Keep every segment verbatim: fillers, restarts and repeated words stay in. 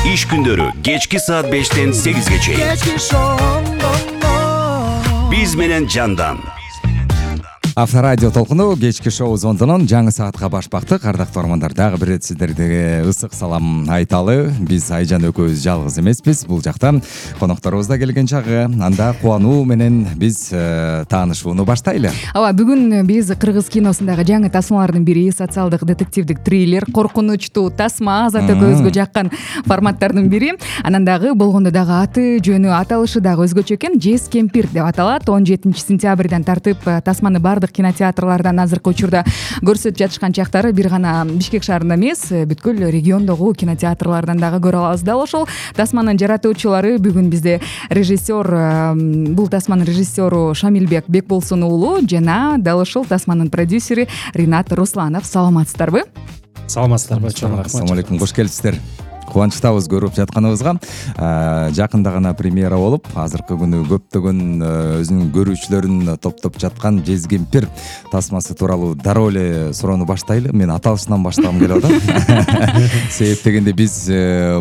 Иш күндөрү кечки саат бештен сегизге чейин. Биз менен Жандан. Авторадио толкуну кечки шоу зондонон жаңы саатка башпакты. Кардактуу угармандар, дагы бир ирет сиздерге ысык салам айталы. Биз Айжан экөөбүз жалгыз эмеспиз. Бул жакта конокторубуз да келген чагы. Анда кубануу менен биз таанышууну баштайлы. Ооба, бүгүн биз кыргыз киносундагы жаңы тасмалардын бири социалдык детективдик триллер, коркунучтуу тасма, Азат экөөбүзгө жаккан форматтардын бири. Анан дагы болгондо дагы аты, жөнү, аталышы дагы өзгөчө экен. Жез кемпир деп аталат. он жетинчи сентябрдан тартып тасманы бардык кинотеатрлардан азыркы учурда көрсөтүп жатышкан чактары бир гана Бишкек шаарында эмес, бүткүл региондогу кинотеатрлардан дагы көрө алабыз. Дал ошол тасманын жаратуучулары бүгүн бизде режиссер, бул тасманын режиссеру Шамилбек Бекболсун уулу жана дал ошол тасманын продюсери Ринат Русланов. Саламатсыздарбы? Саламатсыздарбы? Ассалому алейкум, кош келипсиздер. Кубанычтабыз көрүп жатканыбызга. Жакында гана премьера болуп, азыркы күнү көптөгөн өзүнүн көрүүчүлөрүн топтоп жаткан Жез кемпир тасмасы тууралуу дароо эле суроону баштайлы. Мен аталышынан баштагым келип атат. Себеп дегенде биз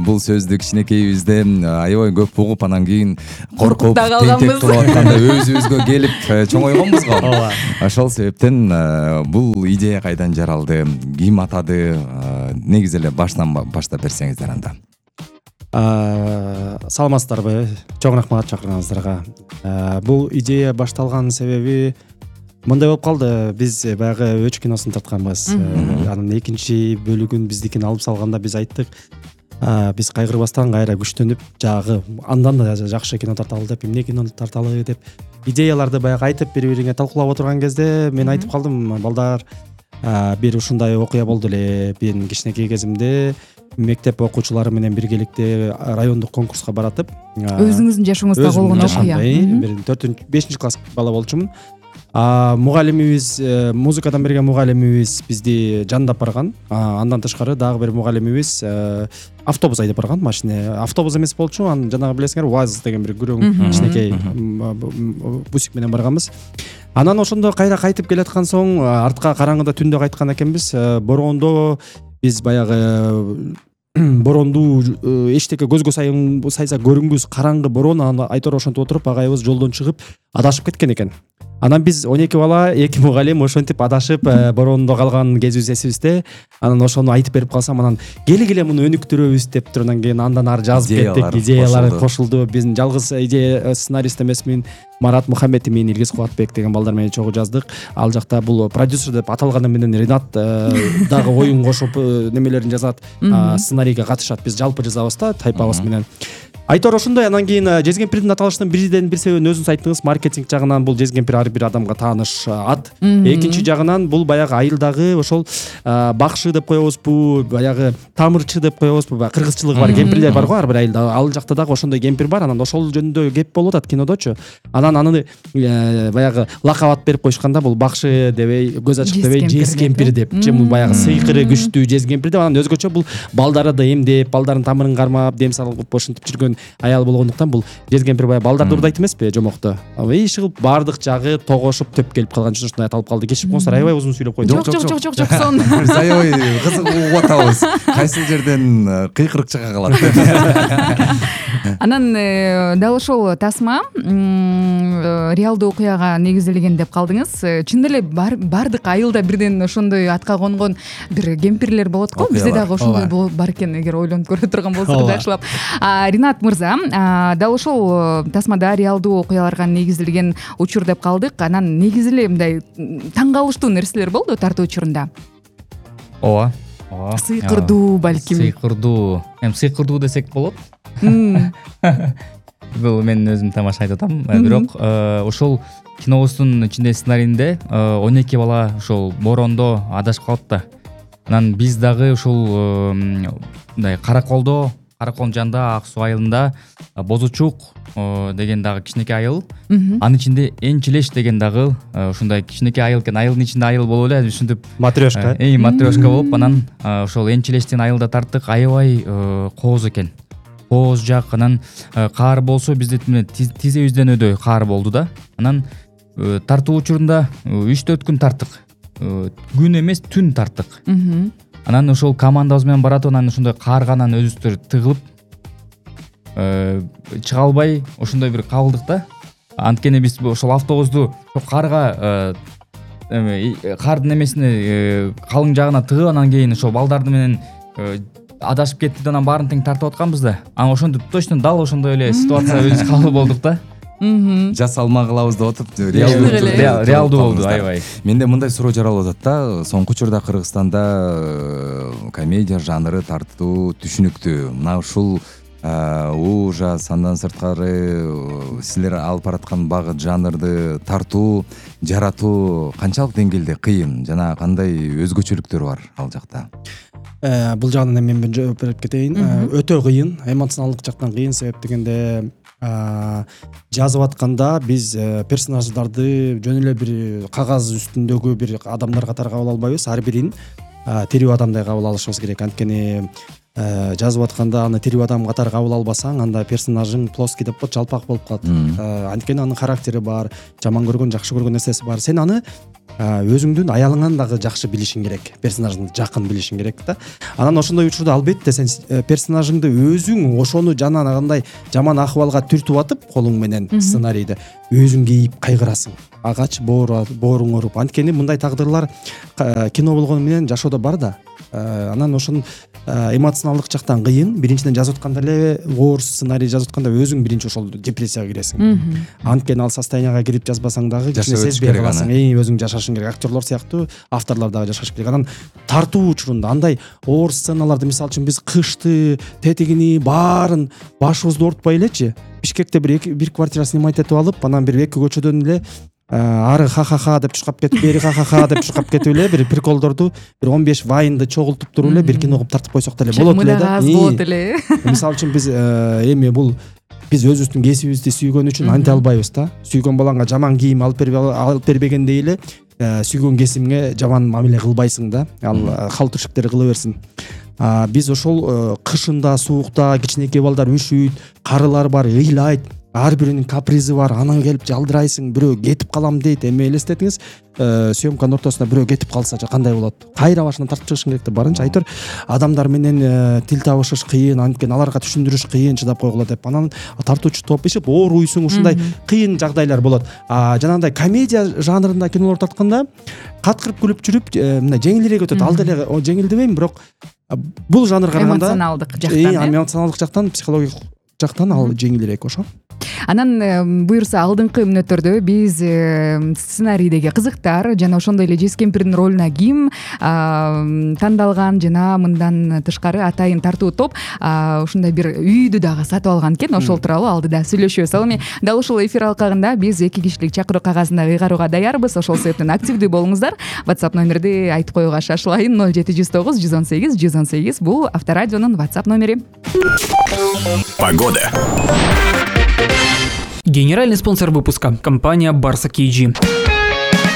бул сөздү кичинекейибизде аябай көп угуп, анан кийин коркуп, тентек кылып атканда өзүбүзгө келип чоңойгонбуз го. Ооба. Ошол себептен бул идея кайдан жаралды, ким атады, негизи эле баштан баштап берсеңиздер анда. Саламатсыздарбы? Чоң рахмат чакырганыңыздарга. Бул идея башталган себеби мындай болуп калды. Биз баягы Өч киносун тартканбыз. Анын экинчи бөлүгүн биздикин алып салганда биз айттык, биз кайгырбастан кайра күчтөнүп, жагы андан да жакшы кино тарталы деп, эмне кино тарталы деп идеяларды баягы айтып бири-бириңе талкуулап отурган кезде мен айтып калдым, балдар, бир ушундай окуя болду эле. Мен кичинекей кезимде мектеп окуучулары менен биргеликте райондук конкурска баратып, өзүңүздүн жашооңузда болгон окуя. Мен төртүнчү бешинчи класс бала болчумун. Мугалимибиз, музыкадан берген мугалимибиз бизди жандап барган. Андан тышкары дагы бир мугалимибиз автобус айдап барган, машина. Автобус эмес болчу, анан жанагы билесиңер, УАЗ деген бир күрөң кичинекей бусик менен барганбыз. Анан ошондо кайра кайтып келаткан соң, артка караңгыда түндө кайткан экенбиз. Бороондо биз баягы бороонду эчтеке көзгө сайса көрүнгүс караңгы бороон, анан айтор ошентип отуруп агайыбыз жолдон чыгып адашып кеткен экен. Анан биз он эки бала, эки мугалим ошентип адашып бороондо калган кезибиз эсибизде. Анан ошону айтып берип калсам, анан келе-келе муну өнүктүрөбүз деп туруп, анан кийин андан ары жазып кеттик. Идеялар кошулду. Биздин жалгыз идея сценарист эмесмин. Марат Мухаммед менен Илгиз Кубатбек деген балдар менен чогуу жаздык. Ал жакта бул продюсер деп аталганы менен Ринат дагы оюн кошуп немелерин жазат, сценарийге катышат. Биз жалпы жазабыз да, тайпабыз менен. Айтор ошондой. Анан кийин Жез кемпирдин аталышынын бирден бир себебин өзүңүз айттыңыз. Маркетинг жагынан бул Жез кемпир ар бир адамга тааныш ат. Экинчи жагынан бул баягы айылдагы ошол бакшы деп коебузбу, баягы тамырчы деп коебузбу, баягы кыргызчылыгы бар кемпирлер бар го ар бир айылда. Ал жакта дагы ошондой кемпир бар. Анан ошол жөнүндө кеп болуп атат кинодочу. Анан аны баягы лакап берип коюшканда, бул бакшы дебей, көз ачык дебей, Жез кемпир деп, же бул баягы сыйкыры күчтүү Жез кемпир деп. Анан өзгөчө бул балдарды эмдеп, балдардын тамырын кармап, дем салып ошентип жүргөн аял болгондуктан бул Жез кемпир баягы балдарды урдайт эмеспи, жомокто. Иш кылып бардык жагы тогошуп төп келип калган үчүн ушундай аталып калды. Кечип коңуздар, аябай узун сүйлөп койдум. Жок, жок, жок, жок, сон. Биз аябай кызык угуп атабыз. Кайсы жерден кыйкырык чыга калат. Анан дал ошол тасма реалдуу окуяга негизделген деп калдыңыз. Чын эле бардык айылда бирден ошондой атка конгон бир кемпирлер болот го. Бизде дагы ошондой бар экен, эгер ойлонуп көрө турган болсок жакшылап. Ринат мырза, дал ошол тасмада реалдуу окуяларга негизделген учур деп калдык. Анан негизи эле мындай таң калыштуу нерселер болду тартуу учурунда. Ооба. Сыйкырдуу балким. Сыйкырдуу. Эми сыйкырдуу десек болот. Бул мен өзүм тамаша айтып атам. Бирок ошол кинобуздун ичинде сценарийинде он эки бала ошол бороондо адашып калат да. Анан биз дагы ушул мындай Караколдо, Караколдун жанында Ак суу айылында Бозучук деген дагы кичинекей айыл. Анын ичинде Энчилеш деген дагы ушундай кичинекей айыл экен. Айылдын ичинде айыл болуп эле ушинтип матрешка. Эй, матрешка болуп, анан ошол Энчилештин айылда тарттык. Аябай кооз экен. Кооз жак, анан каар болсо бизде тизебизден өдөй каар болду да. Анан тартуу учурунда үч төрт күн тарттык. Күн эмес, түн тарттык. Анан ошол командабыз менен баратып, анан ошондой каарганан өзүбүздөр тыгылып, чыга албай ошондой бир кабылдык да. Анткени биз ошол автобусту карга эме кардын эмесине калың жагына тыгып, анан кийин ошол балдарды менен адашып кетти да анан баарын тең тартып атканбыз да. Анан ошондо точно дал ошондой эле ситуацияга өзүбүз кабыл болдук да. Жасалма кылабыз деп атып реалдуу болду, аябай. Менде мындай суроо жаралып атат да. Соңку учурда Кыргызстанда комедия жанры тартуу түшүнүктүү. Мына ушул ужас, андан сырткары силер алып бараткан багыт жанрды тартуу, жаратуу канчалык деңгээлде кыйын жана кандай өзгөчөлүктөр бар ал жакта? Бул жагынан мен жооп берип кетейин. Өтө кыйын, эмоционалдык жактан кыйын. Себеп дегенде жазып атканда биз персонаждарды жөн эле бир кагаз үстүндөгү бир адамдар катары кабыл албайбыз. Ар бирин тирүү адамдай кабыл алышыбыз керек. Анткени жазып атканда аны тирүү адам катары кабыл албасаң, анда персонажың плоский деп коет, жалпак болуп калат. Анткени анын характери бар, жаман көргөн, жакшы көргөн нерсеси бар. Сен аны өзүңдүн аялыңан дагы жакшы билишиң керек, персонажыңды жакын билишиң керек да. Анан ошондой учурда албетте сен персонажыңды өзүң ошону жанагындай жаман акыбалга түртүп атып колуң менен сценарийди өзүң кейип кайгырасың. Агач бооруң ооруп. Анткени мындай тагдырлар кино болгону менен жашоодо бар да. Анан ошон эмоционалдык жактан кыйын. Биринчиден жазып атканда эле оор сценарий жазып атканда өзүң биринчи ошол депрессияга киресиң. Анткени ал состоянияга кирип жазбасаң дагы кичине сезбей каласың. Эң өзүң жашашың керек. Актерлор сыяктуу авторлор дагы жашаш керек. Анан тартуу учурунда андай оор сценаларды, мисалы үчүн биз кышты, тетигини баарын башыбызды оорутпай элечи Бишкекте бир бир квартира снимать этип алып, анан бир эки көчөдөн эле ары ха-ха-ха деп чуркап кетип, бери ха-ха-ха деп чуркап кетип эле бир приколдорду, бир он беш вайнды чогултуп туруп эле бир кино кылып тартып койсок деле болот эле да. Болот эле. Мисалы үчүн биз эми бул биз өзүбүздүн кесибибизди сүйгөн үчүн анте албайбыз да. Сүйгөн балаңа жаман кийим алып бербегендей эле сүйгөн кесимге жаман мамиле кылбайсың да. Ал кал тиршиктер кыла берсин. Биз ошол кышында, суукта кичинекей балдар үшүйт, карылар бар, ыйлайт. Ар биринин капризи бар. Анан келип жалдырайсың, бирөө кетип калам дейт. Эми элестетиңиз, съемканын ортосунда бирөө кетип калсачы кандай болот? Кайра башынан тартып чыгышың керек деп барынча айтыр. Адамдар менен тил табышыш кыйын, анткени аларга түшүндүрүш кыйын, чыдап койгула деп. Анан тартуучу топ ишип ооруйсуң, ушундай кыйын жагдайлар болот. Жанагындай комедия жанрында кинолор тартканда каткырып күлүп жүрүп, мына жеңилирээк өтөт. Ал деле жеңил дебейм, бирок бул жанрга караганда эмоционалдык жактан, эмоционалдык жактан, психологик жактан ал жеңилирээк ошо. Анан буюрса алдыңкы мүнөттөрдө биз сценарийдеги кызыктар жана ошондой эле жез кемпирдин ролуна ким тандалган жана мындан тышкары атайын тартуу топ ушундай бир үйдү дагы сатып алган экен. Ошол тууралуу алдыда сүйлөшөбүз. Ал эми дал ушул эфир алкагында биз эки кишилик чакыруу кагазында ыйгарууга даярбыз. Ошол себептен активдүү болуңуздар. WhatsApp номерди айтып коюуга шашылайын. ноль жети жүз тогуз жүз он сегиз жүз он сегиз бул Авторадионун WhatsApp номери. Погода. Генеральный спонсор выпуска – компания Барса кей джи.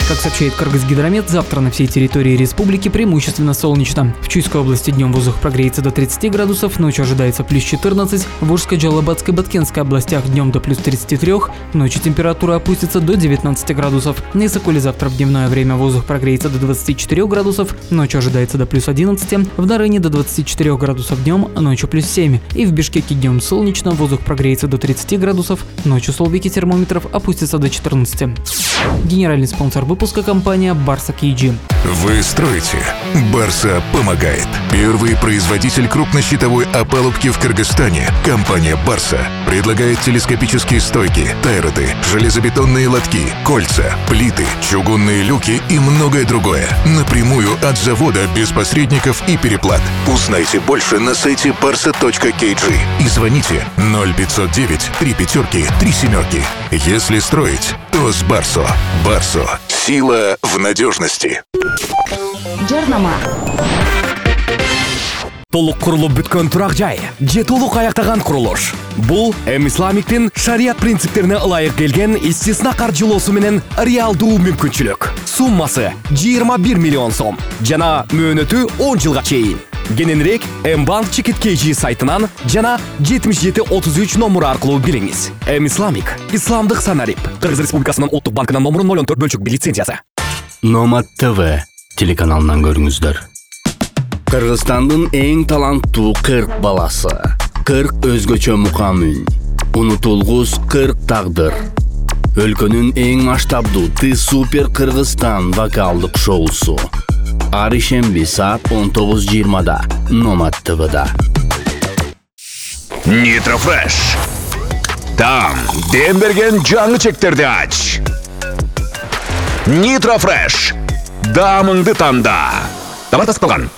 Как сообщает Кыргызгидромет, завтра на всей территории республики преимущественно солнечно. В Чуйской области днем воздух прогреется до тридцати градусов, ночью ожидается плюс четырнадцать. В Ужской, Джалабадской, Баткенской областях днем до плюс тридцати трёх, ночью температура опустится до девятнадцати градусов. На Исакуле завтра в дневное время воздух прогреется до двадцати четырёх градусов, ночью ожидается до плюс одиннадцати. В Нарыне до двадцати четырёх градусов днем, ночью плюс семь. И в Бишкеке днем солнечно, воздух прогреется до тридцати градусов, ночью столбики термометров опустятся до четырнадцати. Генеральный спонсор выпуска Выпуска компания Барса кей джи. Вы строите, Барса помогает. Первый производитель крупнощитовой опалубки в Кыргызстане. Компания Барса предлагает телескопические стойки, тайроты, железобетонные лотки, кольца, плиты, чугунные люки и многое другое. Напрямую от завода без посредников и переплат. Узнайте больше на сайте барса точка кей джи и звоните ноль пятьсот девять три пятерки три семерки. Если строить, то с Барсо. Барсо. Сила в надежности. Жарнама. Толук курулуп бүткөн турак жай же толук аяктаган курулуш. Бул Эмисламиктин шарият принциптерине ылайык келген истисна каржылоосу менен реалдуу мүмкүнчүлүк. Суммасы жыйырма бир миллион сом жана мөөнөтү он жылга чейин. Кененирээк Мбанк Чекит кей джи сайтынан жана жетимиш жети отуз үч номуру аркылуу билиңиз. Эмисламик исламдык санарип. Кыргыз Республикасынын Улуттук банкынын номуру ноль он төрт бөлчүк бир лицензиясы. Номад ТВ телеканалынан көрүңүздөр. Кыргызстандын эң таланттуу кырк баласы. кырк өзгөчө мукам үн, унутулгус кырк тагдыр. Өлкөнүн эң масштабдуу Ты Супер Кыргызстан вокалдык шоусу. Ар ишемби саат он тогуз жыйырмада Номад ТВда. Нитрофреш. Там дем берген жаңы чектерди ач. Нитрофреш. Дамыңды танда. Тава таскалган.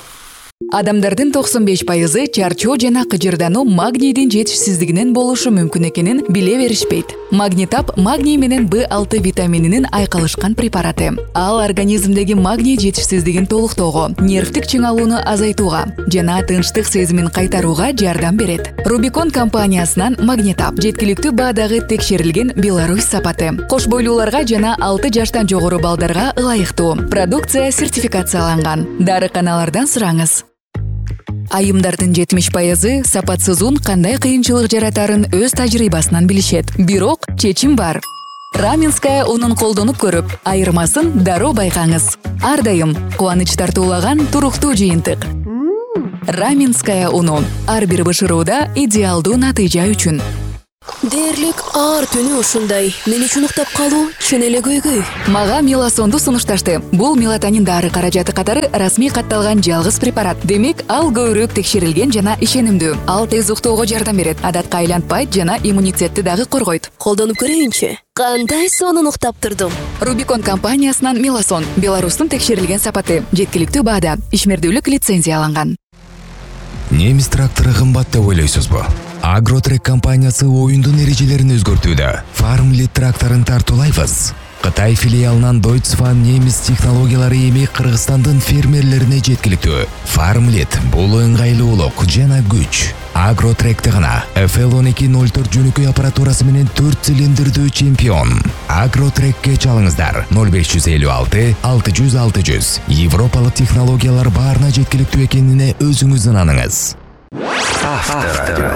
Адамдардын токсон беш пайызы чарчоо жана кыжырдануу магнийдин жетишсиздигинен болушу мүмкүн экенин биле беришпейт. Магнитап магний менен Б алты витамининин айкалышкан препараты. Ал организмдеги магний жетишсиздигин толуктоого, нервтик чыңалууну азайтууга жана тынчтык сезимин кайтарууга жардам берет. Рубикон компаниясынан Магнитап жеткиликтүү баадагы текшерилген Беларусь сапаты. Кош бойлууларга жана алты жаштан жогору балдарга ылайыктуу. Продукция сертификацияланган. Дарыканалардан сураңыз. Айымдардын жетимиш пайызы сапатсыз ун кандай кыйынчылык жаратарын өз тажрыйбасынан билишет. Бирок чечим бар. Раменская унун колдонуп көрүп, айырмасын дароо байкаңыз. Ар дайым кубаныч тартуулаган туруктуу жыйынтык. Раменская уну ар бир бышырууда идеалдуу натыйжа үчүн. Дээрлик аар түнү ушундай. Мен үчүн уктап калуу чын эле көйгөй. Мага меласонду сунушташты. Бул мелатонин дары каражаты катары расмий катталган жалгыз препарат. Демек, ал көбүрөөк текшерилген жана ишенимдүү. Ал тез уктоого жардам берет, адатка айлантпайт жана иммунитетти дагы коргойт. Колдонуп көрөйүнчү. Кандай сонун уктап турдум. Рубикон компаниясынан Меласон, Беларустун текшерилген сапаты, жеткиликтүү баада, ишмердүүлүк лицензияланган. Немис трактору кымбат деп ойлойсузбу? Агротрек компаниясы оюндун эрежелерин өзгөртүүдө. Farmlit тракторун тартуулайбыз. Кытай филиалынан Deutsche немис технологиялары эми Кыргызстандын фермерлерине жеткиликтүү. Farmlit бул ыңгайлуулук жана күч. Агротректе гана эф эл он эки ноль төрт жөнөкөй аппаратурасы менен төрт цилиндрдүү чемпион. Агротрекке чалыңыздар ноль беш жүз элүү алты алты жүз алты жүз. Европалык технологиялар баарына жеткиликтүү экенине өзүңүз ынаныңыз. Авторадио.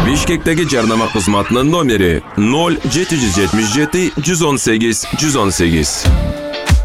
Бишкектеги жарнама кызматынын номери ноль жети жүз жетимиш жети жүз он сегиз жүз он сегиз.